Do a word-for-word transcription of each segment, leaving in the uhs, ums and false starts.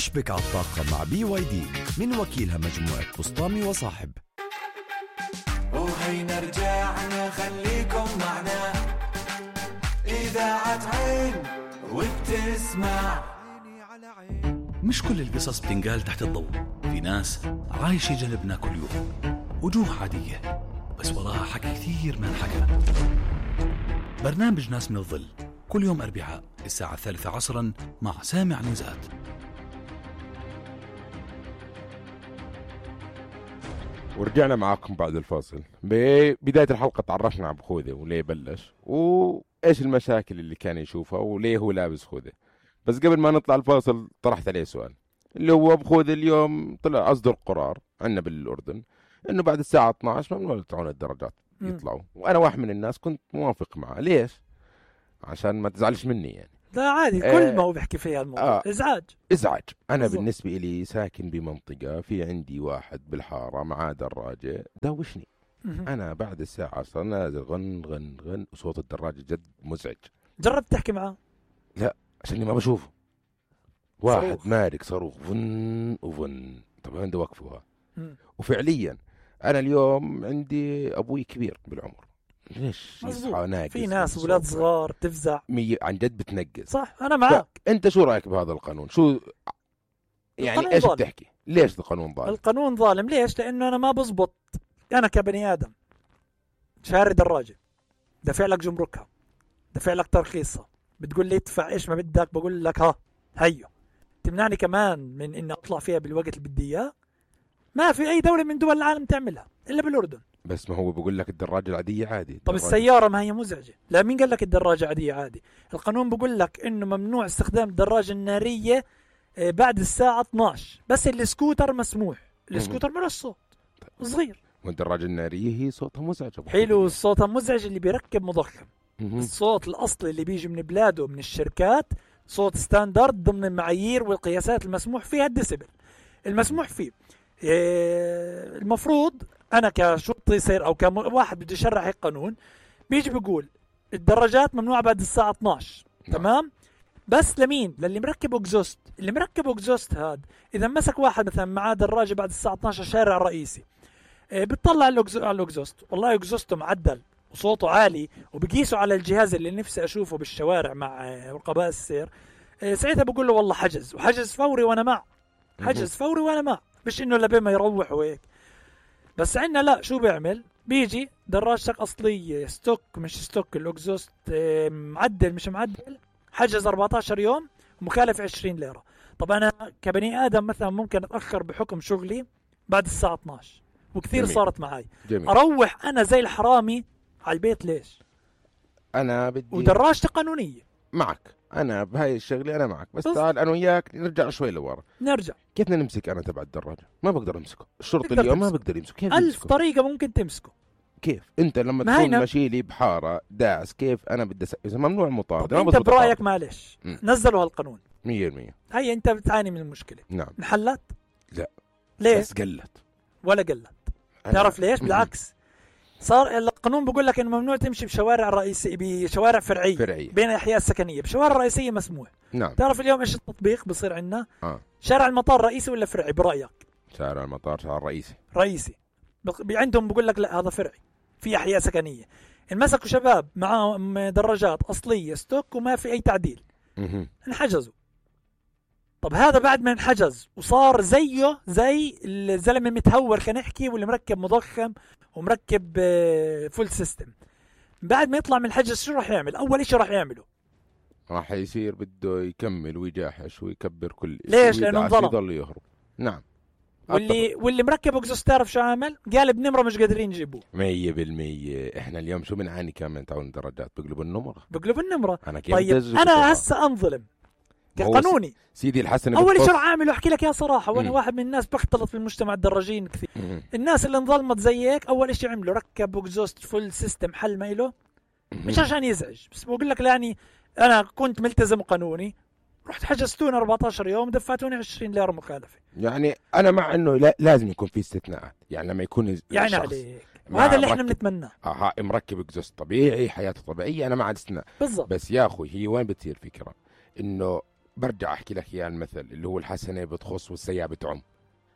اشبك على الطاقة مع بي واي دي من وكيلها مجموعة بسطامي وصاحب. وهينا رجعنا خليكم معنا إذاعة عين وبتسمع. مش كل القصص بتنقال تحت الضوء، في ناس عايشة جنبنا كل يوم، وجوه عادية بس وراها حكي كثير ما انحكى. برنامج ناس من الظل كل يوم أربعاء الساعة الثالثة عصرا مع سامع عنزات. ورجعنا معاكم بعد الفاصل. ببداية الحلقة تعرفنا عن خوذة وليه بلش وإيش المشاكل اللي كان يشوفها وليه هو لابس خوذة. بس قبل ما نطلع الفاصل طرحت عليه سؤال اللي هو بخوذة اليوم طلع أصدر قرار عنا بالأردن إنه بعد الساعة اثنتي عشرة ممنوع يطلعون الدراجات يطلعوا، وأنا واحد من الناس كنت موافق معه. ليش؟ عشان ما تزعلش مني يعني. لا عادي، آه كل ما هو بيحكي فيها الموضوع آه إزعاج إزعاج. أنا بالضبط. بالنسبة إلي ساكن بمنطقة في عندي واحد بالحارة معاه دراجة دوشني. أنا بعد الساعة عشرة نازل غن غن غن وصوت الدراجة جد مزعج. جربت تحكي معه؟ لا، عشان ما بشوفه. واحد صاروخ. مارك صاروخ فن وفن. طبعا عنده وقفها. وفعليا أنا اليوم عندي أبوي كبير بالعمر، ليش يصحى ناقص؟ في ناس أولاد صغار تفزع مي... عن جد بتنقص. صح، أنا معك. أنت شو رأيك بهذا القانون؟ شو يعني إيش بتحكي؟ ليش القانون ظالم؟ القانون ظالم ليش؟ لأنه أنا ما بزبط، أنا كبني آدم شاري دراجة، دفع لك جمركها، دفع لك ترخيصها، بتقول لي ادفع إيش ما بدك، بقول لك ها هيو. تمنعني كمان من إني أطلع فيها بالوقت اللي بدي إياه؟ ما في أي دولة من دول العالم تعملها إلا بالأردن. بس ما هو بقول لك الدراجة العادية عادي. طب السيارة ما هي مزعجة؟ لا، مين قال لك الدراجة عادية عادي؟ القانون بقول لك إنه ممنوع استخدام الدراجة النارية بعد الساعة اثنتي عشرة، بس السكوتر مسموح. السكوتر ملوش صوت صغير، والدراجة النارية هي صوتها مزعج. حلو، صوتها مزعج اللي بيركب مضخم. الصوت الأصلي اللي بيجي من بلاده من الشركات صوت ستاندرد ضمن المعايير والقياسات المسموح فيها الديسيبل المسموح فيه. المفروض أنا كشرطي سير أو كواحد بده يشرح القانون بيجي بيقول الدراجات ممنوعة بعد الساعة اثنتي عشرة. تمام؟ بس لمين؟ للي مركب اكزوست. اللي مركب اكزوست هاد إذا مسك واحد مثلا معاه دراجة بعد الساعة اثنتي عشرة شارع رئيسي، بتطلع على الاكزوست، والله اكزوسته معدل وصوته عالي وبقيسوا على الجهاز اللي نفسي أشوفه بالشوارع مع رقباء السير، ساعتها بقول له والله حجز، وحجز فوري وأنا مع حجز فوري وأنا مع، مش إنه لبين ما يروح وهيك. بس عنا لا، شو بيعمل؟ بيجي دراجتك أصلية ستوك مش ستوك، الأكزوست معدل مش معدل، حجز أربعة عشر يوم ومخالف عشرين ليرة. طب أنا كبني آدم مثلا ممكن أتأخر بحكم شغلي بعد الساعة اثنتي عشرة، وكثير جميل. صارت معي جميل. أروح أنا زي الحرامي على البيت. ليش؟ أنا بدي ودراجتي قانونية معك. أنا بهاي الشغلة أنا معك، بس تعال أنا وياك نرجع شوي لورا. نرجع كيف بدنا نمسك أنا تبع الدراجة؟ ما بقدر أمسكه. الشرطي اليوم تمسكه. ما بقدر يمسكه. كيف ألف يمسكه؟ طريقة ممكن تمسكه. كيف أنت لما تكون ماشي لي بحارة داس، كيف أنا بدي س... إذا ممنوع المطاردة أنت برأيك معلش م. نزلوا هالقانون مية بالمية. هي أنت بتعاني من المشكلة. نعم. انحلت؟ لا. ليه؟ بس قلت ولا قلت. تعرف ليش؟ بالعكس، صار القانون بقول لك انه ممنوع تمشي بشوارع رئيسية، بشوارع فرعية, فرعية. بين الاحياء السكنية. بشوارع رئيسية مسموح. نعم. تعرف اليوم ايش التطبيق بصير عندنا؟ آه. شارع المطار رئيسي ولا فرعي برأيك؟ شارع المطار شارع رئيسي. رئيسي. عندهم بقول لك لا هذا فرعي في احياء سكنية. انمسكوا شباب معهم دراجات اصلية ستوك وما في اي تعديل، انحجزوا. طب هذا بعد ما انحجز وصار زيه زي الزلمة متهور خلينا نحكي، واللي مركب مضخم ومركب فول سيستم، بعد ما يطلع من الحجز شو راح يعمل؟ أول إشي راح يعمله راح يصير بده يكمل ويجاحش ويكبر كل إشي. ليش؟ لأنه انظلم. يضل يهرب. نعم. واللي واللي مركب اكزوست تعرف شو عامل؟ قالب نمرة مش قادرين يجيبوه. مية بالمية. إحنا اليوم شو بنعاني كمان تعون الدراجات بقلبوا النمرة. بقلبوا النمرة. أنا كيف طيب أنا هسه أنظلم كقانوني. سيدي الحسن أول شيء عامله أحكي لك يا صراحة، وأنا واحد من الناس بختلط في المجتمع الدراجين كثير. مم. الناس اللي انظلمت زيك أول شيء عملوا ركب اكزوست فول سيستم حل ما إله، مش عشان يزعج، بس بقول لك يعني أنا كنت ملتزم قانوني، رحت حجزتوني أربعة عشر يوم دفعتوني عشرين ليرة مخالفة. يعني أنا مع إنه لا لازم يكون في استثناءات، يعني لما يكون يعني عليك وهذا اللي احنا بنتمناه. اه مركب اكزوست طبيعي حياته طبيعية، أنا مع الاستثناء بالضبط. بس يا أخوي هي وين بتصير فكرة إنه برجع أحكي لك إياه المثل اللي هو الحسنة بتخص والسيئة بتعم.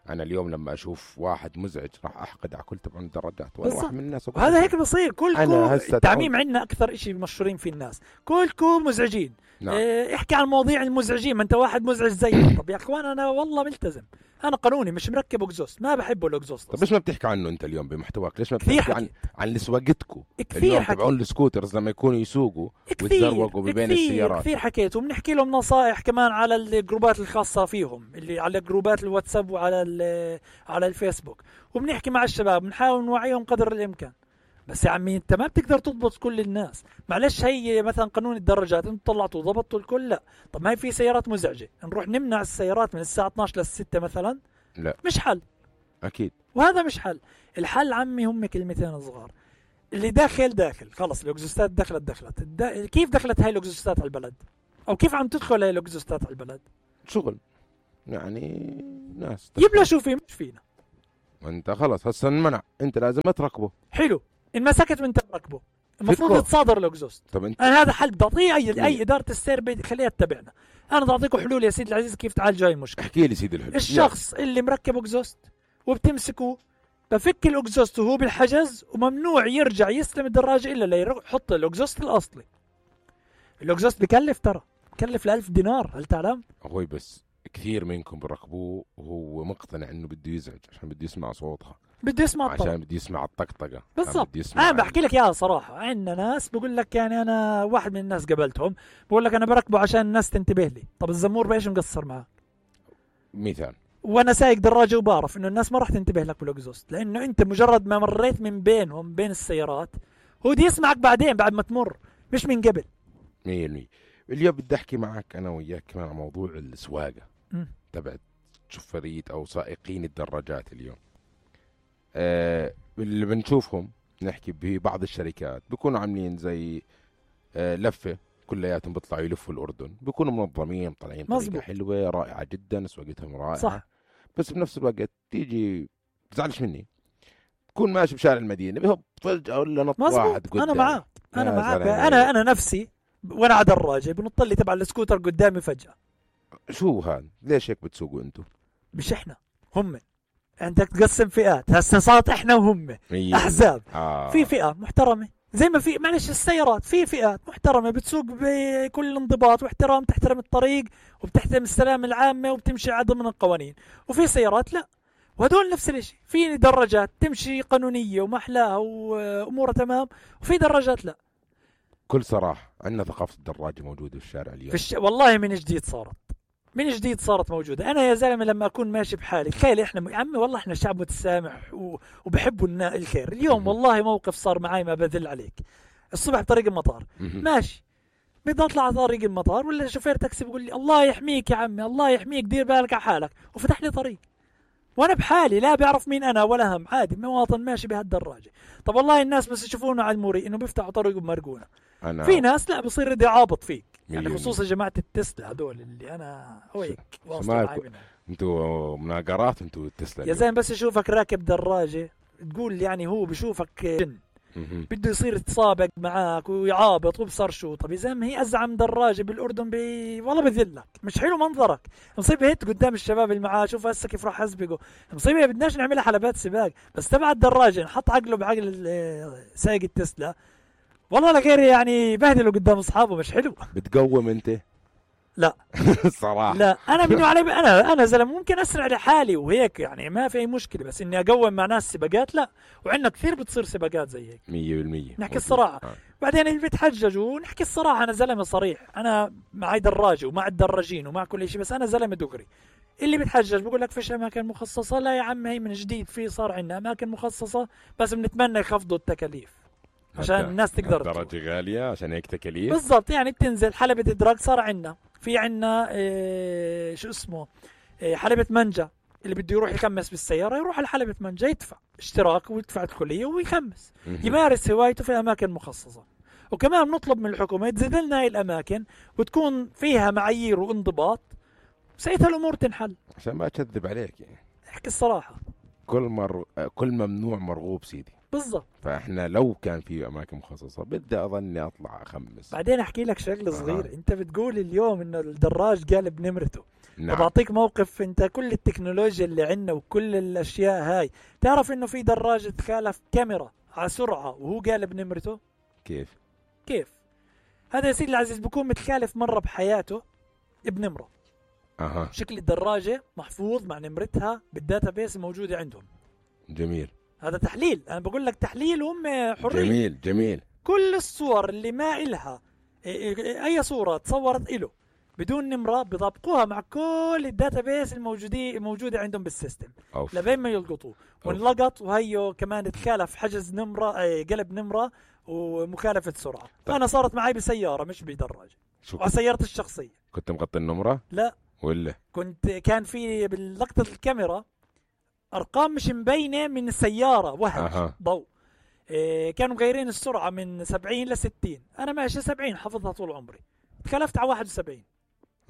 أنا اليوم لما أشوف واحد مزعج راح أحقد على كل تبع الدرجات وأنا واحد من الناس. وهذا هيك بصير كلكم. التعميم عندنا أكثر إشي مشهورين في الناس، كلكم مزعجين. نعم. اه احكي عن المواضيع المزعجين، ما أنت واحد مزعج زي. طب يا أخوان أنا والله ملتزم، أنا قانوني مش مركب أكزوست، ما بحبه الأكزوست. طب ليش ما بتحكي عنه أنت اليوم بمحتواك؟ ليش ما بتحكي عن عن اللي سواقتكم اليوم تبعون السكوترز لما يكونوا يسوقوا ويتزروقوا بين السيارات؟ كثير حكيت، وبنحكي لهم نصائح كمان على الجروبات الخاصة فيهم، اللي على جروبات الواتساب وعلى على الفيسبوك، وبنحكي مع الشباب بنحاول نوعيهم قدر الإمكان. بس يا عمي انت ما بتقدر تضبط كل الناس. معلش هي مثلا قانون الدراجات انتم طلعتوا ضبطوا الكل؟ لا. طب ما هي في سيارات مزعجة، نروح نمنع السيارات من الساعة اثناشر للستة مثلا؟ لا مش حل اكيد، وهذا مش حل. الحل عمي هم كلمتين صغار، اللي داخل داخل خلص. الاكزوستات دخلت دخلت الدا... كيف دخلت هاي الاكزوستات على البلد؟ او كيف عم تدخل هاي الاكزوستات على البلد؟ شغل يعني ناس يبلشوا فيه مش فينا. انت خلص هسه منع، انت لازم تركبه. حلو، ان مسكت من تركبه المفروض تصادر الاكزوست. طب انت انا هذا حل بدي اعطيه اي اي اداره السير خليها تتبعنا. انا بدي اعطيكم حلول يا سيدي العزيز كيف تعالج هاي المشكله. احكي لي سيدي الحلول. الشخص يعني. اللي مركب اكزوست وبتمسكه بفك الاكزوست وهو بالحجز، وممنوع يرجع يستلم الدراجه الا ليحط الاكزوست الاصلي. الاكزوست بكلف، ترى بكلف ألف دينار، هل تعلم؟ اخوي بس كثير منكم بركبوه وهو مقتنع انه بده يزعج عشان بده يسمع صوتها، بده يسمع الطرق، عشان بده يسمع الطقطقه بالضبط. انا بحكي لك اياها صراحه، عندنا ناس بقول لك، يعني انا واحد من الناس قبلتهم بقول لك انا بركبه عشان الناس تنتبه لي. طب الزمور بايش مقصر معاه؟ مثال وانا سايق دراجه وبعرف انه الناس ما راح تنتبه لك بالاكزوست، لانه انت مجرد ما مريت من بينهم بين السيارات هو بده يسمعك بعدين بعد ما تمر، مش من قبل. مية بالمية. اليوم بدي احكي معك انا وياك كمان عن موضوع السواقه تبع شفرية او سائقين الدراجات. اليوم آه اللي بنشوفهم نحكي ببعض الشركات بيكونوا عاملين زي آه لفه كلياتهم بيطلعوا يلفوا الاردن، بيكونوا منظمين طالعين طريقه حلوه رائعه جدا، سواقتهم رائعه صح. بس بنفس الوقت تيجي تزعلش مني تكون ماشي بشارع المدينه بهب فجاه ولا نط واحد قدام. انا معاك انا معاك انا انا نفسي وانا على دراجه بنط لي تبع السكوتر قدامي فجاه. شو هذا؟ ليش هيك بتسوقوا انتم؟ مش احنا، هم. عندك تقسم فئات، هسه صارت احنا وهم احزاب. آه. في فئه محترمه زي ما في معلش السيارات، في فئات محترمه بتسوق بكل انضباط واحترام، تحترم الطريق وبتحترم السلامه العامه وبتمشي على ضمن القوانين، وفي سيارات لا، وهدول نفس الشيء. في دراجات تمشي قانونيه ومحلاها وامورها تمام، وفي دراجات لا. كل صراحه عندنا ثقافه الدراجه موجوده في الشارع اليوم. في الش... والله من جديد صارت من جديد صارت موجودة. أنا يا زلمة لما أكون ماشي بحالي تخيل إحنا م... يا عمي والله إحنا شعب متسامح و... وبحبوا النا... الخير. اليوم والله موقف صار معي ما بذل عليك. الصبح بطريق المطار ماشي، بدي أطلع على طريق المطار ولا شوفير تاكسي بيقول لي الله يحميك يا عمي الله يحميك دير بالك على حالك، وفتح لي طريق وأنا بحالي لا بيعرف مين أنا ولا هم، عادي مواطن ماشي بهالدراجة. طب والله الناس بس يشوفونا على الموري إنه بيفتحوا طريق بمرقونا. في ناس لا بصير يدي عابط فيك، يعني خصوصا جماعة التسلا هدول اللي أنا هيك واصل معي منهم. انتوا مناقرات انتوا التسلا يا زلمة، بس يشوفك راكب دراجة تقول يعني هو بشوفك جن، بده يصير يتسابق معاك ويعابط وبصر شو. طب يا زلمة هي أزعم دراجة بالأردن بي... والله بذلك، مش حلو منظرك. مصيبة هيك قدام الشباب اللي معاه، شوف هسه كيف راح أسبقه. مصيبة بدناش نعملها حلبات سباق، بس تبع الدراجة نحط عقله بعقل سايق التسلا والله لغير يعني بهدلوا قدام اصحابه، مش حلو. بتقوم انت؟ لا صراحه لا، انا منو علي انا انا زلمه ممكن اسرع لحالي وهيك يعني ما في اي مشكله، بس اني اقوم مع ناس سباقات لا. وعندنا كثير بتصير سباقات زي هيك مية بالمية نحكي الصراحه. آه. بعدين اللي بيتحججوا نحكي الصراحه، انا زلمه صريح، انا معي دراجه ومع الدراجين ومع كل شيء، بس انا زلمه دغري. اللي بيتحجج بقول لك فيش اماكن مخصصه، لا يا عم هي من جديد في صار عندنا اماكن مخصصه، بس بنتمنى يخفضوا التكاليف عشان الناس تقدر. الدرجة غالية عشان هيك تكاليف بالضبط. يعني بتنزل حلبة إدراك صار عندنا، في عندنا إيه شو اسمه إيه حلبة منجا، اللي بده يروح يخمس بالسيارة يروح على حلبة منجا يدفع اشتراك ويدفع الكلية ويخمس يمارس هوايته في أماكن مخصصة. وكمان نطلب من الحكومة تزيد لنا هاي الأماكن وتكون فيها معايير وانضباط، ساعتها الأمور تنحل. عشان ما أكذب عليك يعني احكي الصراحة، كل مر... كل ممنوع مرغوب سيدي. بالضبط. فاحنا لو كان في اماكن مخصصه بدي اظني اطلع اخمس. بعدين احكي لك شغله صغير. آه. انت بتقول اليوم انه الدراج قالب نمرته. نعم. طب اعطيك موقف. انت كل التكنولوجيا اللي عندنا وكل الاشياء هاي، تعرف انه في دراج تخالف كاميرا على سرعه وهو قالب نمرته؟ كيف؟ كيف؟ هذا يا سيدي العزيز بكون متخالف مره بحياته بنمره. اها شكل الدراجه محفوظ مع نمرتها بالداتابيس الموجوده عندهم. جميل. هذا تحليل، انا بقول لك تحليل وهم حرين. جميل جميل. كل الصور اللي ما إلها اي صوره تصورت له بدون نمره بيطابقوها مع كل الداتابيس الموجودين الموجوده عندهم بالسيستم أوف. لبين ما يلقطوه. وانلقط وهيو كمان تخالف حجز نمره اي قلب نمره ومخالفه سرعه. طيب. انا صارت معي بسياره مش بدراجه. شو وعلى سيارتي الشخصيه. كنت مغطي النمره؟ لا ولا كنت كان في بلقطه الكاميرا ارقام مش مبينه من السياره وهم أها. ضوء. إيه كانوا مغيرين السرعه من سبعين ل ستين. انا ماشي سبعين حافظها طول عمري. تخلفت على واحد وسبعين.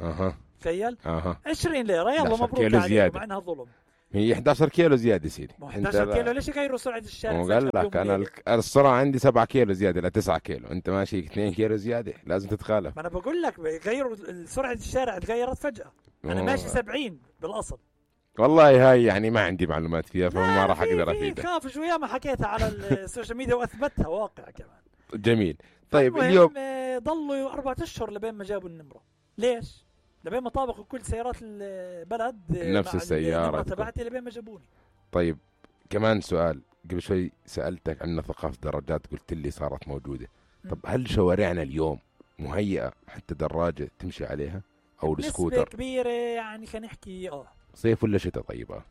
اها تخيل. اها عشرين ليره يلا إحدى عشر مبروك كيلو عليك زيادة. مع انها ظلم. هي إحدى عشر كيلو زياده سيدي. مو إحدى عشر كيلو ليش يغيروا سرعه الشارع؟ وقال فجأة لك بيوم انا وليلة؟ الك- السرعه عندي سبعة كيلو زياده ل تسعة كيلو، انت ماشي اثنين كيلو زياده، لازم تتخالف. ما انا بقول لك غيروا سرعه الشارع تغيرت فجاه. انا أوه. ماشي سبعين بالاصل. والله هاي يعني ما عندي معلومات فيها فما لا، راح في- اقدر في افيدك. خاف شويه ما حكيتها على السوشيال ميديا واثبتها واقع كمان. جميل. طيب المهم، اليوم آه، ضلوا أربعة أشهر لبين ما جابوا النمرة. ليش؟ لبين ما طابقوا كل سيارات البلد آه، نفس مع السيارة النمرة تكون. تبعتي لبين ما جابوني. طيب كمان سؤال، قبل شوي سألتك عن ثقافة الدراجات قلت لي صارت موجودة. طب هل شوارعنا اليوم مهيئة حتى دراجة تمشي عليها أو نسبة السكوتر؟ كبيرة يعني خلينا نحكي اه صيف ولا شتاء؟ طيب آه.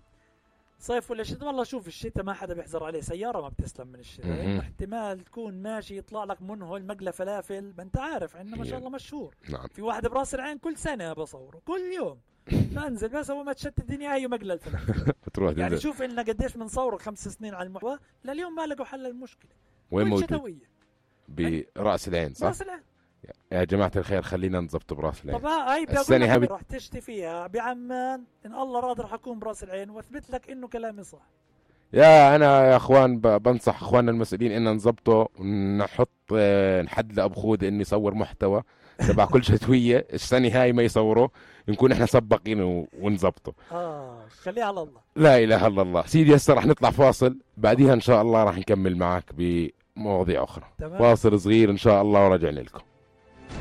صيف ولا شتاء؟ والله شوف الشتاء ما حدا بيحذر عليه، سيارة ما بتسلم من الشتاء. مهم. يعني احتمال تكون ماشي يطلع لك منهل مقلة فلافل، ما انت عارف عندنا ما شاء يا. الله مشهور. نعم. في واحد براس العين كل سنة بصوره كل يوم. بنزل بس اول ما تشتت الدنيا هي مقلة الفلافل. بتروح يعني تنزل. شوف إننا قديش بنصور خمس سنين على المحتوى لليوم ما لقوا حل المشكلة. وين كل موجود؟ شتوية. برأس العين صح؟ راس العين. يا جماعة الخير خلينا نضبط براس العين. طب هاي بدي السنة اقول هاي لك بت- راح تشتي فيها بعمان ان الله راضي راح اكون براس العين واثبت لك انه كلامي صح. يا انا يا اخوان ب- بنصح اخواننا المسؤولين ان نظبطه ونحط آه، نحد لابو خود انه يصور محتوى تبع كل شتويه، السنه هاي ما يصوره نكون احنا سباقين و- ونظبطه. اه خليها على الله. لا اله الا الله. سيدي هسه رح نطلع فاصل، بعديها ان شاء الله رح نكمل معك بمواضيع اخرى. تمام. فاصل صغير ان شاء الله ورجعنا لكم.